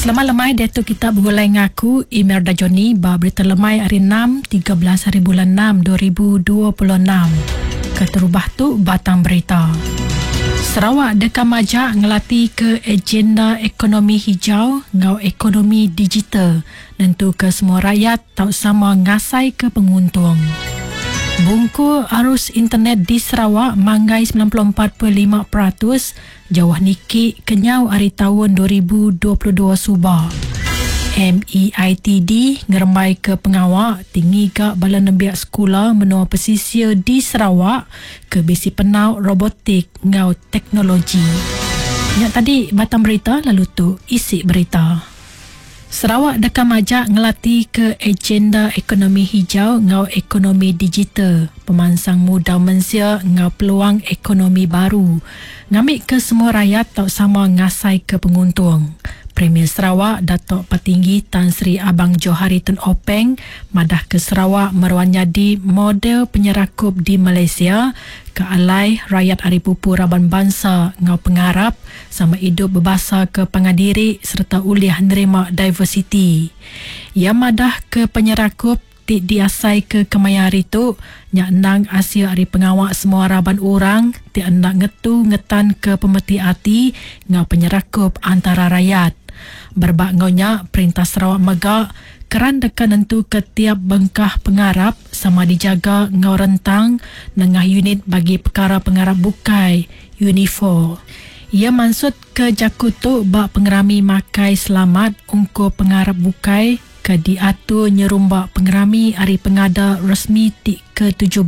Selamat lemai diatu kita begulai enggau aku Imelda Johnny ba berita lemai hari 6 13 hari bulan 6 2026. Keterubah tu batang berita. Sarawak deka majak ngelati ke agenda ekonomi hijau enggau ekonomi digital nentuka semua rakyat tau sama ngasaika penguntung. Bungkur arus internet di Sarawak manggai 94.5% jauh niki kenyau ari taun 2022 suba. MEITD ngerembaika pengawa ti ngiga bala nembiak sekula menua pesisir di Sarawak ke bisi penau robotik enggau teknologi. Nya tadi batang berita lalu tu isi berita. Sarawak deka majak ngelatika agenda ekonomi hijau enggau ekonomi digital, pemansang mudal mensia enggau peluang ekonomi baru ngambika semua rayat tau sama ngasaika penguntung. Premier Sarawak Datuk Patinggi Tan Sri Abang Johari Tun Openg madahka Sarawak meruan nyadi model penyerakup di Malaysia ke alai rayat ari pupu raban bansa enggau pengarap sama idup bebasaka pangan diri sereta ulih nerima diversiti. Iya madahka penyerakup ti diasaika kemaya hari tu nya endang asil ari pengawa semua raban orang ti enda ngetu ngetanka pemeti ati enggau penyerakup antara rayat. Berebak enggau nya, Perintah Sarawak mega keran deka nentuka tiap bengkah pengarap sama dijaga enggau rentang nengah Unit Bagi Pekara Pengarap Bukai, Unifor. Iya mansutka jaku tu ba pengerami makai selamat ungkup pengarap bukai ke diatur nyerumba pengerami Hari Pengada Resmi ti ke 17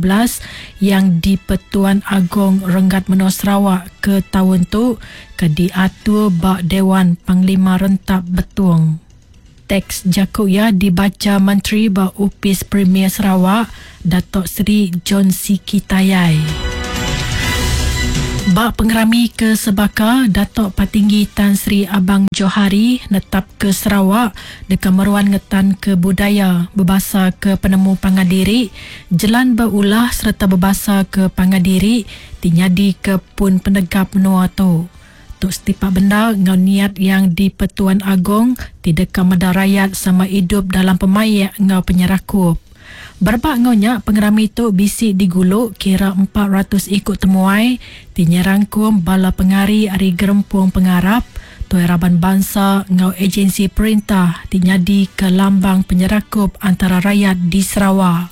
Yang di-Pertuan Agong Renggat Menua Sarawak ke taun tu ke diatur ba Dewan Panglima Rentap Betong. Teks jaku iya dibacha Menteri ba Opis Premier Sarawak, Datuk Seri John Sikie Tayai. Ba pengerami ke sebaka, Datuk Patinggi Tan Sri Abang Johari netapka Sarawak deka meruan ngetanka budaya bebasaka penemu pangan diri, jelan beulah sereta bebasaka pangan diri ti nyadika pun penegap menua tu. Tu setipak bendar enggau niat Yang di-Pertuan Agong ti deka meda rayat sama idup dalam pemaik enggau penyerakup. Berebak enggau nya, pengerami tu bisi digulu kira 400 iku temuai ti nyerangkum bala pengari ari gerempung pengarap, tuai raban bansa enggau ejensi perintah ti nyadika lambang penyerakup antara rayat di Sarawak.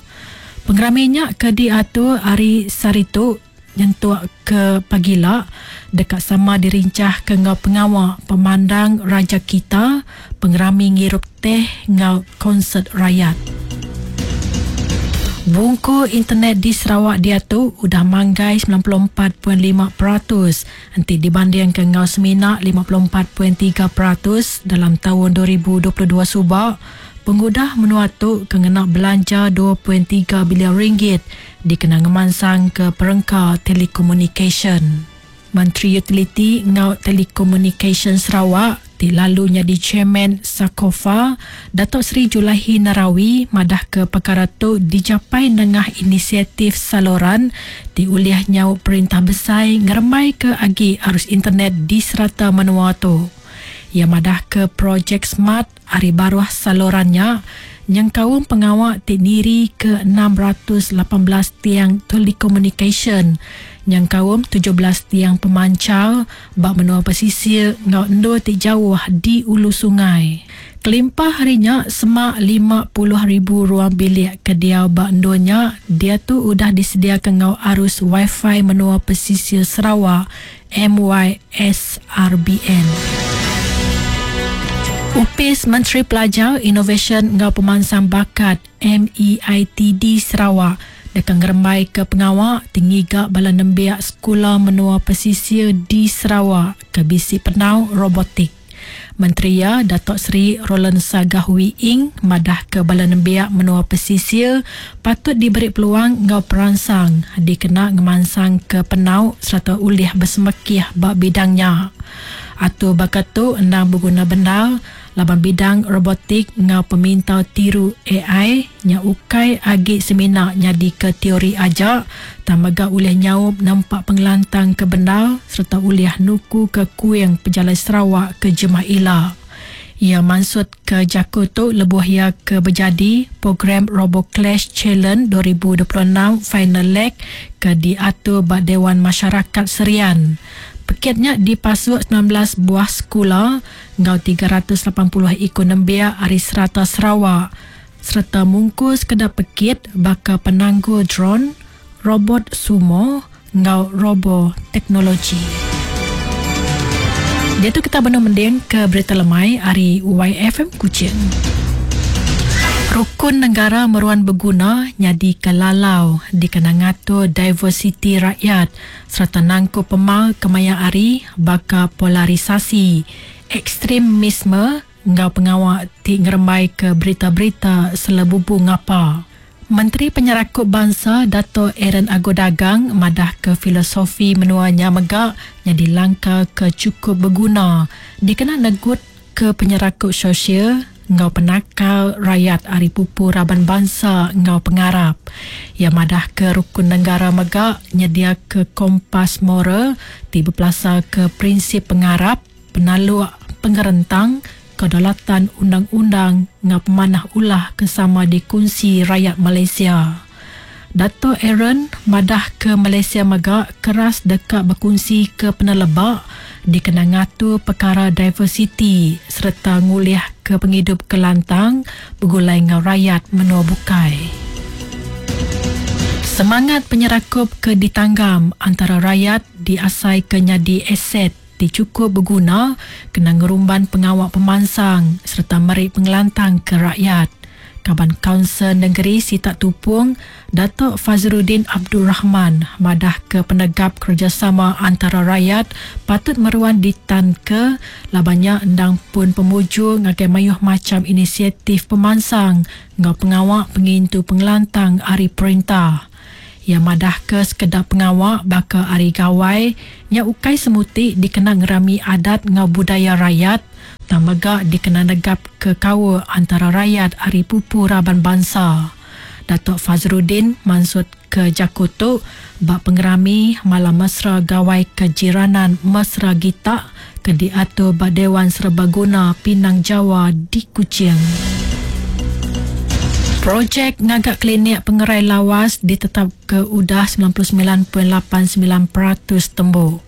Pengerami nya ke diatur hari sehari tu, Nyentuk ke pagila, deka sama dirinchahka enggau pengawa pemandang Raja Kita, pengerami ngirup teh enggau konsert rayat. Bungkur internet di Sarawak diatu udah manggai 94.5% enti dibandingka enggau semina 54.3% dalam taun 2022 suba, pengudah menua tu ke ngena belanja 2.3 bilion ringgit dikena ngemansangka perengka telekomunikasyen. Menteri Utiliti enggau Telekomunikasyen Sarawak ti lalu nyadi Chairman SACOFA, Datuk Seri Julaihi Narawi madahka pekara tu dijapai nengah inisiatif Saluran ti ulih nyaup perintah besai ngerembaika agi arus internet di serata menua tu. Iya madahka projek smart Ari baruh saluran nya nyengkaum pengawa ti nirika 618 tiang telekomunikasyen nyengkaum 17 tiang pemanchar ba menua pesisir enggau endur ti jauh di ulu sungai. Kelimpah ari nya, semak 50,000 ruang bilik ke diau ba endur nya diatu udah disediaka enggau arus Wi-Fi menua pesisir Sarawak MYSRBN. Opis Menteri Pelajar, Inovasyen enggau Pemansang Bakat, MEITD, Sarawak deka ngerembaika pengawa ti ngiga bala nembiak sekula menua pesisir di Sarawak ke bisi penau robotik. Menteri iya, Datuk Seri Roland Sagah Wee Ing madahka bala nembiak menua pesisir patut diberi peluang enggau peransang dikena ngemansangka penau sereta ulih besemekih ba bidang nya. Atur baka tu endang beguna bendar laban bidang robotik enggau pemintar tiru ai Nya ukai agi semina nyadika teori aja, tang mega ulih nyaup nempa pengelantang ke bendar sereta ulih nukuka kuing pejalai Sarawak ke jemah ila. Iya mansutka jaku tu lebuh iya ke bejadi Program RoboClash Challenge 2026 Final Leg ke diatur ba Dewan Masyarakat Serian. Pekit nya dipasuk 19 buah sekula enggau 380 iku nembiak ari serata Sarawak sereta mungkur sekeda pekit baka penanggul dron, robot sumo enggau robo teknologi. Diatu kita benung mendingka berita lemai ari YFM Kuching. Rukun negara meruan beguna nyadika lalau dikena ngatur diversiti rakyat sereta nangkup pemar kemaya hari baka polarisasi, ekstremisme enggau pengawa ti ngerembaika berita-berita selebubu ngapa. Menteri Penyerakup Bansa Dato Aaron Ago Dagang madahka filosofi menua nya mega nyadi langkar ke chukup beguna dikena negutka penyerakup sosial enggau penakal rayat ari pupu raban bansa enggau pengarap. Iya madahka Rukun Negara mega nyediaka kompas moral ti bepelasarka prinsip pengarap, penaluk, pengerentang, kedaulatan undang-undang enggau pemanah ulah ke sama dikunsi rayat Malaysia. Dato Aaron madahka Malaysia mega keras deka bekunsika peneleba dikena ngatur pekara diversiti sereta ngulihka pengidup ke lantang begulai enggau rayat menua bukai. Semangat penyerakup ke ditanggam antara rayat diasaika nyadi aset ti chukup beguna kena ngerumban pengawa pemansang sereta meri pengelantang ke rakyat. Kaban Kaunsil Nengeri Sitak Tupong, Datuk Fazzrudin Abdul Rahman madahka penegap kerejasama antara rayat patut meruan ditanka laban nya endang pun pemujur ngagai mayuh macham inisiatif pemansang enggau pengawa pengintu pengelantang ari perintah. Iya madahka sekeda pengawa baka Hari Gawai nya ukai semuti dikena ngerami adat enggau budaya rayat tang mega dikena negapka kaul antara rayat ari pupu raban bansa. Datuk Fazzrudin mansutka jaku tu ba pengerami Malam Mesra Gawai Kejiranan Mesra Gitak ke diatur ba Dewan Serbaguna Pinang Jawa di Kuching. Projek ngaga klinik pengerai lawas ditetapka udah 99.89% tembu.